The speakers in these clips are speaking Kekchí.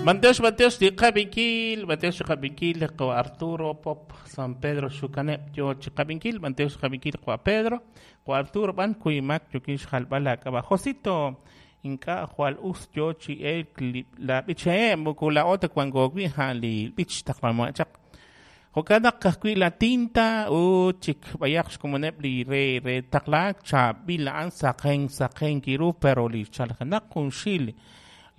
B'antiox, b'antiox li qab'inkil, b'antiox li qab'inkil, qawa' Arturo Pop San Pedro Xukaneb' yo chi qab'inkil, b'antiox li qab'inkil qawa' Pedro, qawa' Arturo b'an kuymak yookin xjalb'al laak'ab'a'. Josito, ink'a' jwal us yo chi elk li la b'ich moko laa'o ta wanko wi' a'an li b'ich taqlamo'eb' chaq. Jo'kan naq ka'ajwi' la tinta ut chik b'ayaq xkomoneb' li re re taqlaak chaab'il a'an saqen saqen kiru pero li chaljenaq junxil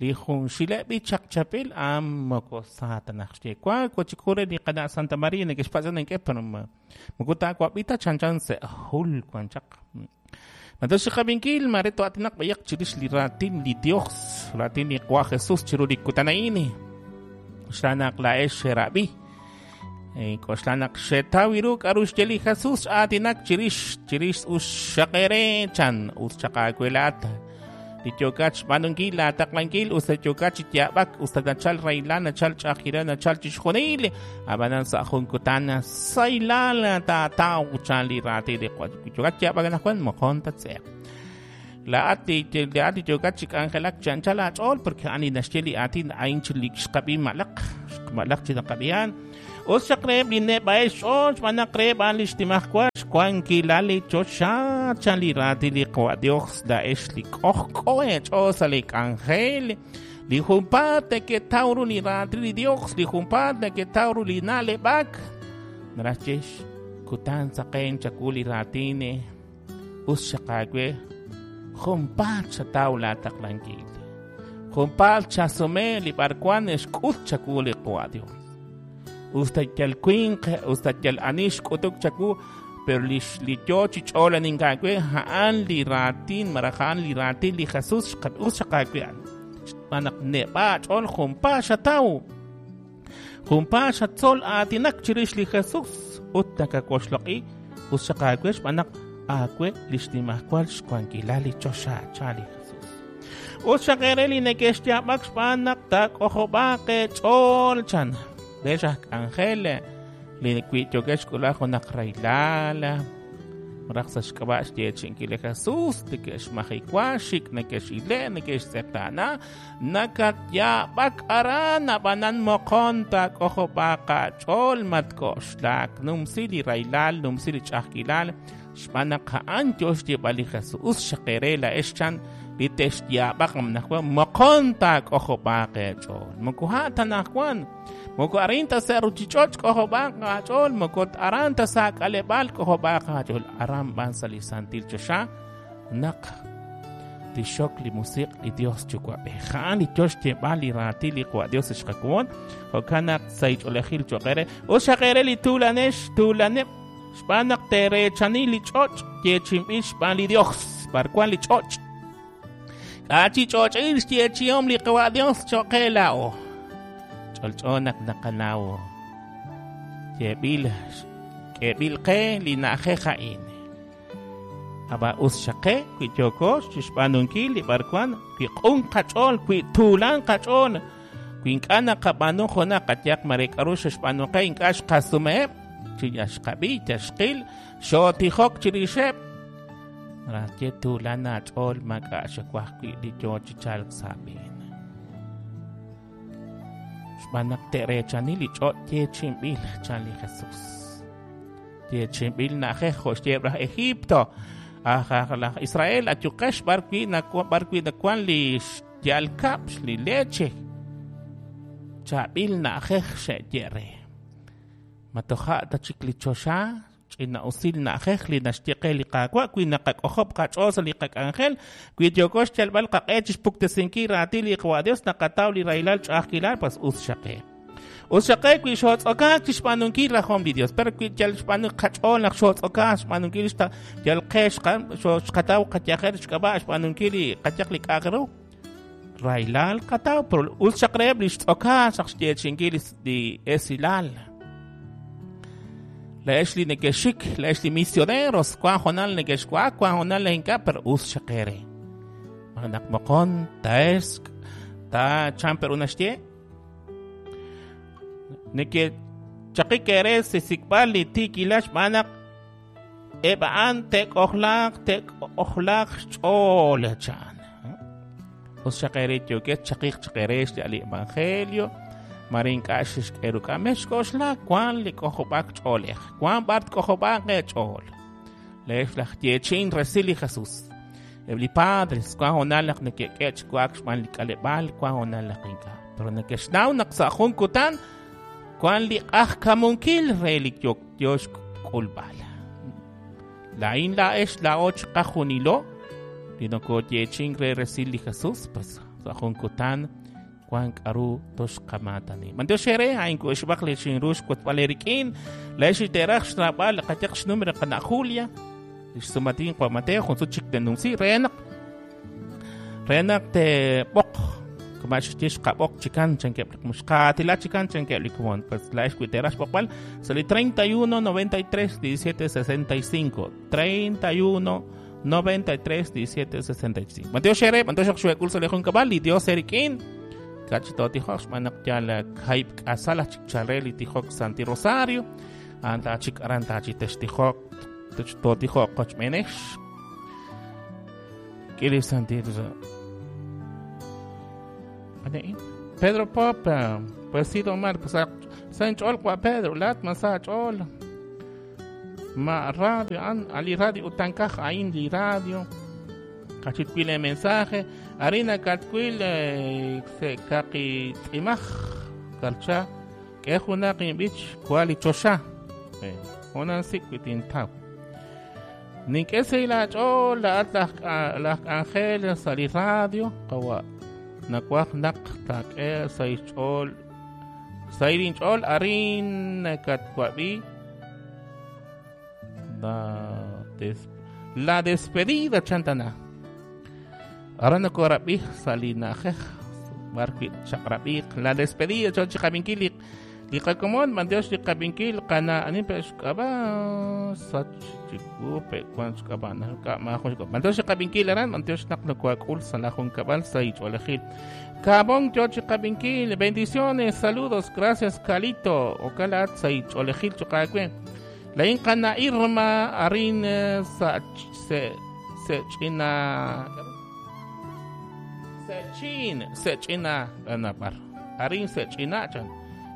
li junxileb' b'ich chaq chapil a'an moko sa ta naq xye wank wa chik jun re li qana' Santa Maria neke'xpatz' nink'e pero moko taawab'i ta chanchan sa' jul wan chaq. Matox xqab'inkil maare to'atinaq b'ayaq chirix li raatin li Dios, raatin li Qwa Jesus chiru li kutan a'in. K'oxla naq laa'ex xerab'i. K'oxla naq xetaw ru k'aru xye li Jesus aatinak chirix chirix us xaq eere chan us chaq aawe laa'at li yookat xb'aanunkil laataqlankil us ta yookat chi yaab'ak us ta nachal rahilal nachal ch'a'ajkilal nachal chixjunil ab'anan sa' jun kutan sahilal taataw chan li raatin li Qaawa' yookat yaab'ak anaqwan moqon tatse'eq laa'at li laa'at li yookat chi k'anjelak chi anchal aach'ool porque a'an li naxye li aatin a'in chi li xqab'i malaq malaq chi naqab'ihan Us chaq reheb' li neb'a'eb' xch'ool xb'aan naq reheb' a'an li xnimajwal xwankilal li choxa, chan li raatin li Qawa' Dios, laa'ex li k'ojk'o eech'ool sa' li k'anjel, li junpaat neketaw ru li raatin li Dios, li junpaat neketaw ru li na'leb'ak, naraj xye kutan saqen chawu li raatin, us xaq aawe, junpaat xataw laa taqlankil. Junpaat chasume li b'arwan xk'ut chawu li Qawa' Dios. Us ta yal winq, us ta yal ani xk'utuk chawu, pero li, li yo chi ch'olanink aawe, a'an li raatin, malaj a'an li raatin li Jesus, us xaq aawe a'an. Xb'aan naq neb'a' aach'ool junpaat xataw. Junpaat xatzol aatinak chirix li Jesus ut nakawoxloq'i us xaq aawe xb'aan naq aawe li xnimajwal xwankilal li choxa, chan li Jesus. Us xaq eere li neke'xyaab'ak xb'aan naq taak'ojob'aaq eech'ool, chan. Leex aj k'anjel li wi yookex xk'ulb'al junaq rahilal, malaj sa' xk'ab'a' xyeechi'inkil li Jesus, neke'xmajiwa, xik' neke'x'ile', neke'xtz'eqtaana, Nakatyaab'ak aran, ab'anan moqon taak'ojob'aaq aach'ool, matk'oxlak, numsi li rahilal, numsi li ch'a'ajkilal, xb'aan naq a'an yo xyeeb'al li Jesus. Us xaq eere laa'ex chan li texyaab'aq anaqwan, moqon taak'ojob'aaq eech'ool. Moko a' ta anaqwan, moko arin ta sa' ruuchich'och' k'ojob'aaq aach'ool, moko aran ta sa' k'aleb'aal k'ojob'aaq aach'ool, aran b'an sa' li santil choxa naq tixxok li musiq' li Dios Yuwa'b'ej. A'an li yo xyeeb'al li raatin li Qawa' Dios ex qakomon. Jo'kan naq sa' ch'oolejil cho'q eere. Us xaq eere li tuulanex, tuulaneb' xb'aan naq teereechani li ch'och' yeechi'inb'il xb'aan li Dios. B'ar wan li ch'och'? K'a' chi ch'och'il xyeechi'om li Qawa' Dios cho'q qe laa'o? Ch'olch'o naq naqanaw. Yeeb'il, k'eeb'il qe li na'ajej a'in. Ab'an us xaq qe wi yooko chixb'aanunkil li b'arwan, wi q'un qach'ool, wi tuulan qach'ool, wi ink'a' naqab'aanu junaq qayehaq mare k'aru xe'xb'aanu qe ink'a' xqasumeheb', chi yal xqab'i, yal xqil, xootijok chirixeb'. Malaj ye tuulan aach'ool maak'a' xawaj wi' li yoo chi chalk sa' aab'een. Xb'aan naq te'reechani li ch'och' yeechi'inb'il, chan li Jesus. Yeechi'inb'il na'ajej jo' xyeeb' laj Egipto. Aj aj laj Israel ayuqex b'arwi' b'arwi' nawank li xya'al kab'l li leche. Chaab'il na'ajej xe'ye re. Ma toja' ta chik li choxa ch'ina'usil na'ajej li naxye qe li Qaawa' wi naqak'ojob' qach'ool sa' li qak'anjel, wi yooko xyalb'al qaq'e chi xpuktesinkil raatin li Qawa' Dios naqataw li rahilal ch'a'ajkilal, pas us xaq qe. Us xaq qe wi xootz'okaak chi xb'aanunkil rajom li Dios, pero wi yal xb'aanu qach'ool naq xootz'okaak xb'aanunkil yal qe xqataw qayajel xk'ab'a' xb'aanunkil li qayaq li k'a'aq ru, rahilal qataw, pero us xaq reheb' li xtz'okaak xaq xyeechi'inkil li esilal. Laa'ex li neke'xik, laa'ex li misioneros, wank hoonal neke'xwa'ak, wank hoonal ink'a', pero us xaq eere. Naq moqon taesk ta chan peru naxye Neke'chaqik eere xsik'b'al li tiikilal xb'aan naq eb' a'an te'k'ojlaaq te'k'ojlaaq xch'ool, chan. Us xaq eere yookex chaqiq chaq eere xya'al li evangelio. Mare ink'a' xixk'e ruk'a. Mexk'oxla wank li k'ojob'aak ch'oolej. Wank b'ar tk'ojob'aaq eech'ool. Leex laj yeechi'in resil li Jesus. Eb' li padres wank hoonal naq neke'k'e chi wa'ak xb'aan li k'aleb'aal, wank hoonal naq ink'a'. Pero neke'xnaw naq sa' jun kutan wank li q'ajkamunkil re li yo xk'ulb'al. Laa'in laa'ex laa'o chiqajunilo li nokoyeechi'ink re resil li Jesus, pues sa' jun kutan wank k'aru toxqamaatani. B'antiox eere, a'in ku'exb'aq li xinru xwotb'al eerik'in. Laa'ex li teeraj xraab'al qayaq xnumero qana' Julia, li xsumatin Juan Mateo, jun sut chik tenumsi re naq teeb'oq kama xye xqab'oq chikan chankeb' li xqaatila chikan chankeb' li komon. Pues laa'ex wi teeraj xb'oqb'al sa' li 31 93 17 65 31 93 17 65. B'antiox eere, b'antiox naq xuek'ul sa' li junkab'al, li Dios eerik'in. Kach tootijok xb'aan naq yal kahib' k'asal aj chik chal re li tijok Santi Rosario. A'an taachik aran taachi textijok, tootijok qochb'eenex. K'ili Santi Pedro Pop, pues sí, Omar, pues sa inch'ool wa Pedro, laat ma sa ch'ool. Ma radio, an ali radio utankaj ain li radio. Kachitwil el mensaje, arina katwil se kaqi tz'imaj kalcha k'e junaq inb'ich kwali choxa. Junan sik witintaw. Nink'e sa la ch'ool laat laj k'anjel sa' li radio qawa nawaj naq taak'e sa' xch'ool sa' inch'ool arin nakatwab'i la despedida chantana. Ahora nakorab'i sa' li na'ajej b'ar wi' chaq'rab'iq la despedida chon chiqab'inkil li qakomon b'antiox li qab'inkil qana anin pe xk'ab'a sach chiwu pe wan xk'ab'a nalka maajun xk'ab'a b'antiox li qab'inkil aran b'antiox naq nokoak'ul sa' la junkab'al sa' ich'oolejil Kabon yo chiqab'inkil bendiciones saludos gracias Calito okalaat sa' ich'oolejil choqaawe la in qana Irma arin sa' se ch'ina se ch'ina anabar arin se ch'ina chan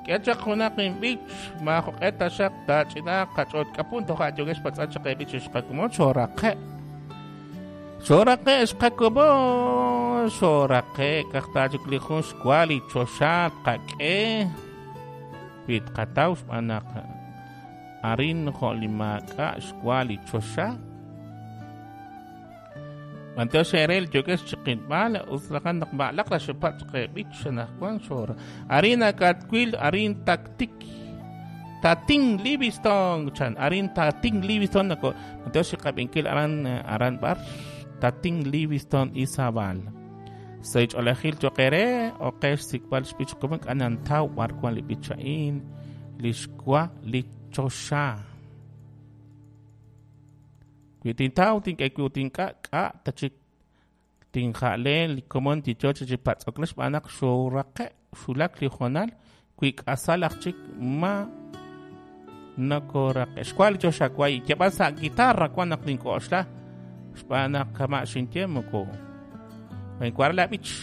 k'e chaq junaq inb'ich maajoq'e ta xaq taach'ina qach'oot k'apun toja' yokex patz'al chaq eb'ich xqakumon xoraqe xoraqe xqakumo xoraqe kajtaachik li jun xwali choxa tqak'e wi tqataw xb'aan naq arin jo' li maak'a' xwali choxa. B'antiox erel yokex chiqilb'al uslajan naq ma'laq la xepat chaqeb'ich xanajwan xor arina katwil arin taktik Tatin Livingston chan arin Tatin Livingston nako b'antiox chiqab'inkil aran aran bar Tatin Livingston Izabal sa ich'olejil choqere oqex sikb'al xb'ich kuman k'anantaw b'ar wan li b'icha'in li xwa li choxa. Wi tintaw tink'e wi tink'a k'a tachik tinja'le li komon tichoch chi patz'oklax xb'aan naq xoraqe xulak li jonal wi k'asal aj chik ma nakoraqe xwa li choxa way yab'al sa' guitarra wan naq tink'oxla xb'aan naq kama' xinye moko wenkuar la b'ich.